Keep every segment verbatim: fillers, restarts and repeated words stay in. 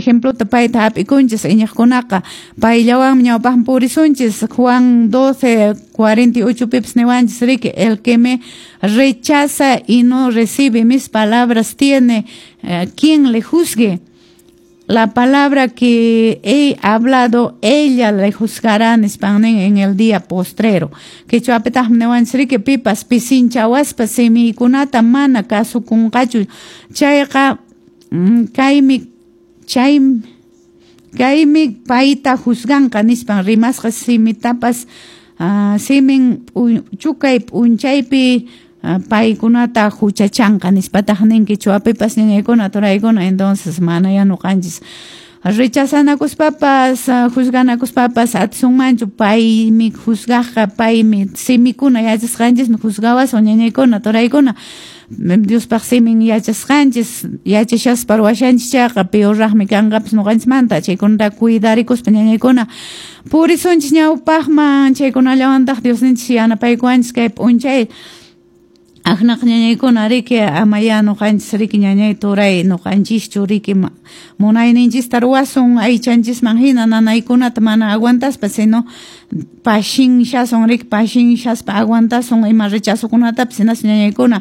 ejemplota payta hap'ikunchis iñiqkunaqa payllawanmi ñawpaqman purisunchis. Juan doce cuarenta y ocho pipas niwanchis riki, el que me rechaza y no recibe mis palabras tiene eh, quien le juzgue. La palabra que he hablado, ella le juzgará nispan nin en el día postrero. Quechuapitaqmi niwanchis riki, pipas pisinchawaspa simiykunata mana kasukunqachu chayqa kaymi chay kaymi payta juzganqa nispan rimasqa simitapas uh, simin chukay p'unchaypi paykunata huchachanqa nispataq nin quechuapipas ñañaykuna turaykuna. Entonces mana ya ñuqanchis rechazanakuspapas juzganakuspapas atisunmanchu, paymi juzgaqqa, paymi simikuna yachasqanchismi juzgawasun ñañaykuna turaykuna. Diospaq simin yachasqanchis yachashaspa ruwashanchis chayqa peorraqmi kanqapas ñuqanchismanta. Chaykunata cuidarikuspa ñañaykuna purisunchis ñawpaqman, chaykunallawantaq Diosninchis yanapaykuwanchis kay p'unchay. Aqnaq ñañaykuna riki, ama ya ñuqanchis riki ñañay turay ñuqanchischu riki munayninchista ruwasun aychanchisman hina nanaykunata mana aguantaspa, sino pashinshasun riki, pashinshaspa aguantasun ima rechazokunatapas hinaspa ñañaykuna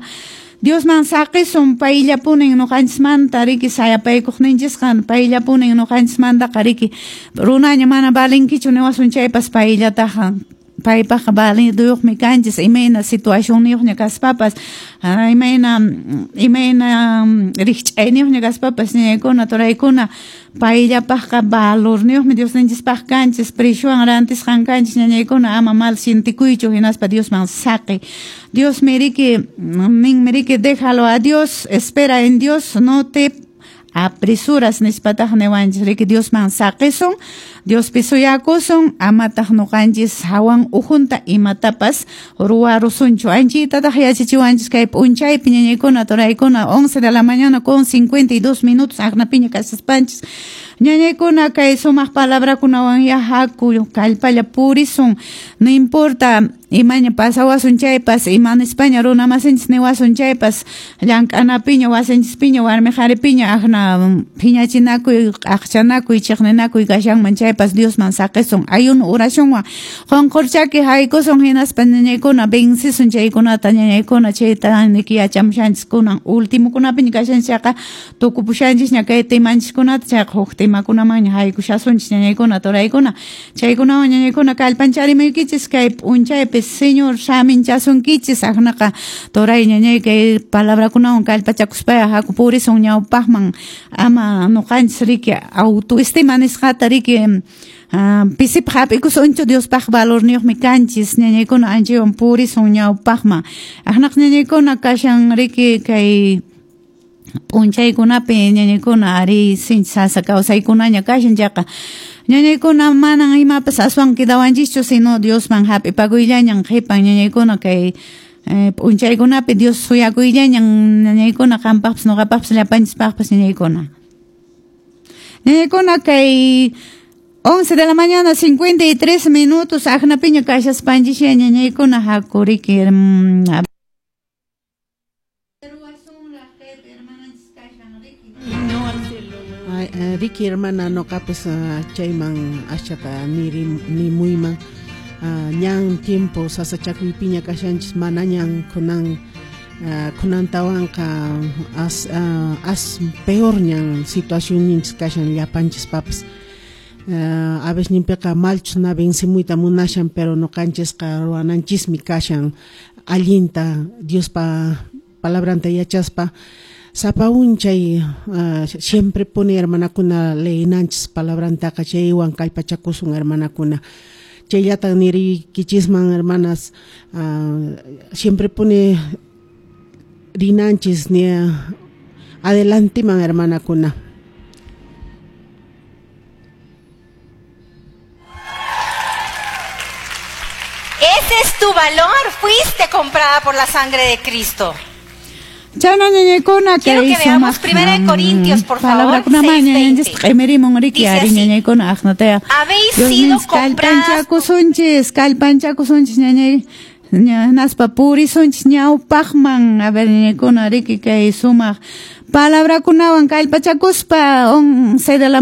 Diosman saqisun, payllapunin ñuqanchismanta riki sayapaykuqninchisqa, payllapunin ñuqanchismantaqa riki runaña mana valinkichu niwasun chaypas payllataqa paypaqqa validuyuqmi kanchis imayna situacionniyuqña kaspapas, imayna imayna rikch'ayniyuqña kaspapas ñañaykuna turaykuna payllapaqqa valorniyuqmi Diosninchispaq kanchis, preshuwan rantisqan kanchis ñañaykuna, ama mal sientikuychu hinaspa Diosman saqi. Diosmi riki ninmi riki, déjalo a Dios, espera en Dios, no te apresuras nispataq niwanchis riki, Diosman saqisun, Diospi suyakusun, amataq ñuqanchis hawan ujunta imatapas ruwarusunchu. Anchitataq yachachiwanchis kay p'unchaypi ñañaykuna turaykuna, once de la mañana con cincuenta y dos minutos aqnapiña kasaspanchis ñañaykuna kay sumaq palabrakunawan ya haku kallpalla purisun, no importa imaña pasawasun chaypas, ima nispaña runa masinchis niwasun chaypas, llank'anapiña wasinchispiña warmi qharipiña aqna phiñachinakuy aqchanakuy chiqninakuy kashanman chaypas Diosman saqisun, ayuno oracionwan qunqurchaki haykusun hinaspa ñañaykuna vencisun chaykunata ñañaykuna. Chayta niki yachamushanchis kunan ultimokunapiña kashanchis chayqa tukupushanchisña kay temanchiskunata, chayqa huk temakunamanña haykushasunchis ñañaykuna turaykuna. Chaykunawan ñañaykuna kallpancharimaykichis kay p'unchaypi Señor saminchasunkichis aqnaqa turay ñañay kay palabrakunawan kallpachakuspaya haku purisun ñawpaqman, ama ñuqanchis riki autoestima nisqata riki pisipaq hap'ikusunchu, Diospaq valorniyuqmi kanchis ñañaykuna, anchaywan purisun ñawpaqman. Aqnaq ñañaykuna kashan riki kay p'unchaykunapi ñañaykuna ari sinchi sasa kawsaykunaña kashan chayqa ñañaykuna manan imapas aswan quedawanchischu, sino Diosman hap'ipakuyllañan qhipan ñañaykuna kay p'unchaykunapi Dios suyakuyllañan ñañaykuna qampaqpas ñuqapaqpas llapanchispaqpas ñañaykuna. Ñañaykuna kay once de la mañana cincuenta y tres minutos aqnapiña kashaspanchis ñañaykuna haku riki. Riki hermana noqapis chayman ashata niri nimuyman ñan tiempo sasachakuypiña kashanchis manañan kunan kunantawanqa as as peor ñan situacionninchis kashan llapanchis papas a veces ninpiqa malchus na vencimuyta munashan pero noqanchisqa ruwananchismi kashan allinta Diospa palabranta yachaspa sapa unchay uh, siempre pone hermanakuna leinanchis palabrantaqa chaywan kallpachakusun hermanakuna chayllatan nirikichisman hermanas uh, siempre pone rinanchis ni adelanteman hermanakuna. Ese es tu valor, fuiste comprada por la sangre de Cristo. Chana ñañaykuna Quiero que veamos Primera de Corintios, por favor, seis veinte. Dice así: habéis sido compradas kallpanchakusunchis ñañay naspa purisunchis ñawpaqman. A ver ñañaykuna riki kay sumaq palabrakunawan kallpachakuspa once de la mañana.